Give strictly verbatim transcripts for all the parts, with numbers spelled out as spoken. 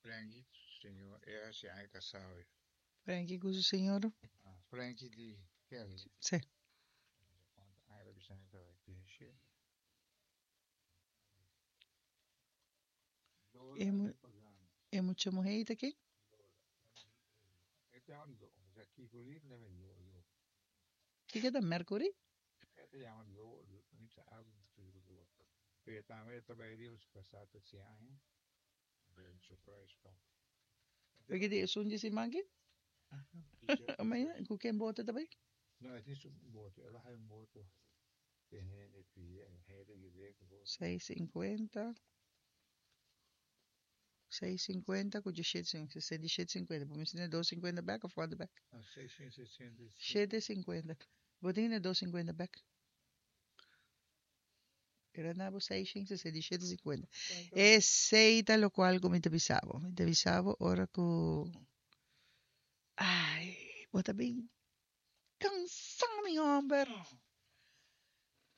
Frankie, señor, e hasi aña kasá awe. Frankie ku su señora? Ah, Frankie di Kelly. Sí. E, mu e mucha muhé ta ken? Kiko ta Mercury? Porque di esun di siman aki? Mañana, ku ken boto ta bai? Seis sinkuenta, seis sinkuenta ku diesshete sinkuenta, sesenta i shete sinkuenta. Bo mester tene dos sinkuenta bèk òf kuantu bèk? Shete sinkuenta. Bo tin e dos sinkuenta bèk? Era na bo seis shin sesenta i shete sinkuenta. Esei ta lokual ku mi ta bisa bo. Mi ta bisa bo ora ku, ai, bo ta bin kansa mi hòmber.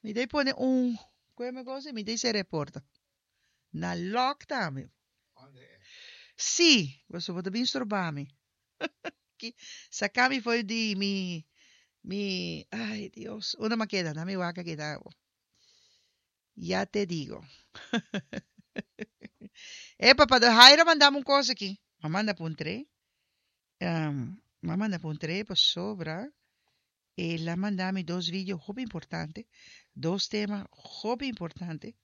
Mi ta pone un, kue mi kosa? Mi ta sera e porta. Na lòk tambe. Sí, pasobra bo ta bin stroba mi. Saka mi for di mi, mi, ai Dios, unda mi a keda? Na mi wak a keda awo. Ya te digo. Epa, pa Jairo a manda mi un kos aki. Mi a manda puntr'é. Mi a manda puntr'é pasobra el a manda mi dos video hopi importante, dos tema hopi importante.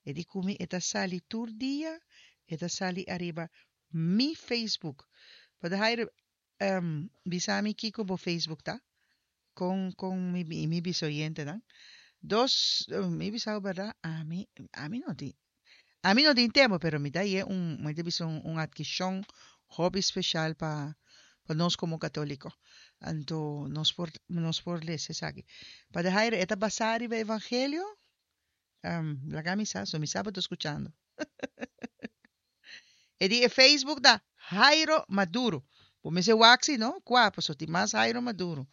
E di ku mi e ta sali tur dia, e ta sali ariba mi Facebook. Pader Jairo, bisa mi kiko bo Facebook ta? Kon kon mi mi bisa oyentenan? Dos, mi bisa bo berdad, ami ami no tin ami no tin tempo pero mi ta haye un mi ta bisa un atkishon hopi special pa pa nos komo katoliko. Anto nos por nos por lesa esaki. Pader Jairo, e ta basá riba evangelio? Laga mi sa, so mi sa bo ta skuchando. E di e Facebook ta Jairo Maduro. Bo mester wak si no, kua paso tin mas Jairo Maduro.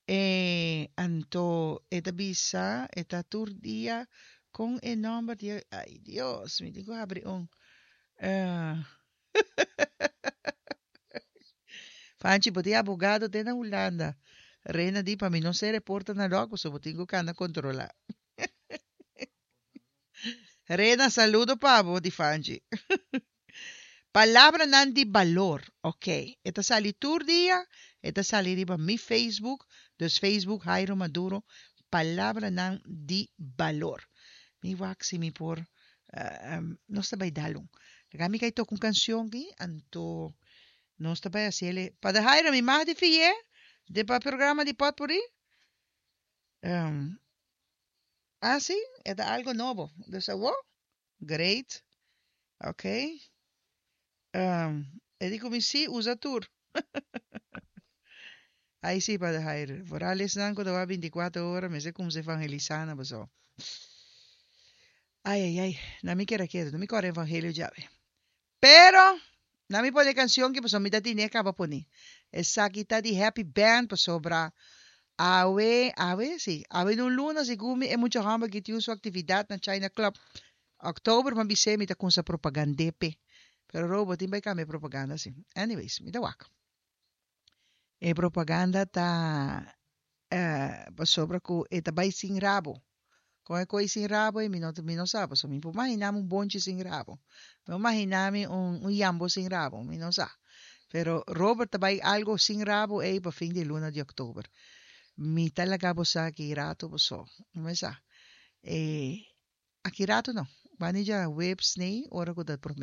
E anto e ta bisa e ta tur dia kon e nomber di e ay Dios mi tin ku habri un Fanchi bo tin abogado te na Hulanda. Reina di pa mi no sera e porta na lòk pasobra bo tin ku kanda kontrolá. Rena saludo pa bo di Fanchi. Palabranan di balor ok e ta sali tur dia e ta sali riba mi Facebook dus Facebook Jairo Maduro palabranan di balor mi wak si mi por nos ta bai dal un laga mi kai toka un cancion aki anto nos ta bai haciele Pader Jairo mi mag di fiye den pa programa di potpourri Ah si, e ta algo nobo. Dus awo? Great. Ok. Um, e di ku mi si, usa tur. Ai si, Pader Jair. Vooral esnan ku ta wak bintikuater ora mester kumsa evangelisá na boso. Ai ai ai, na mi keda ketu, no mi kòrda evangelio djawe. Pero, na mi pone canción ki pasobra mi ta tine caba pone. Esaki ta di Happy Band pasobra awe, awe si, awe na un luna segun mi e mucha homber ki tin su actividad na China Club. October mi a bis'é mi ta cunsa propagand'é p'e. Pero Ro bo tin bai cambia e propaganda si. Anyways, mi ta wak. E propaganda ta pasobra cu e ta bai sin rabo. Con e coy sin rabo ey mi no mi no sa pasobra mi por mahina mi un bonchi sin rabo. Mi por mahina mi un un yambo sin rabo, mi no sa. Pero Robert ta bai algo sin rabo ey pa fin di luna di october. Mi ta laga bo sa aki rato paso no me sa. E aki rato no, bani djaweps ney ora cu ta prome.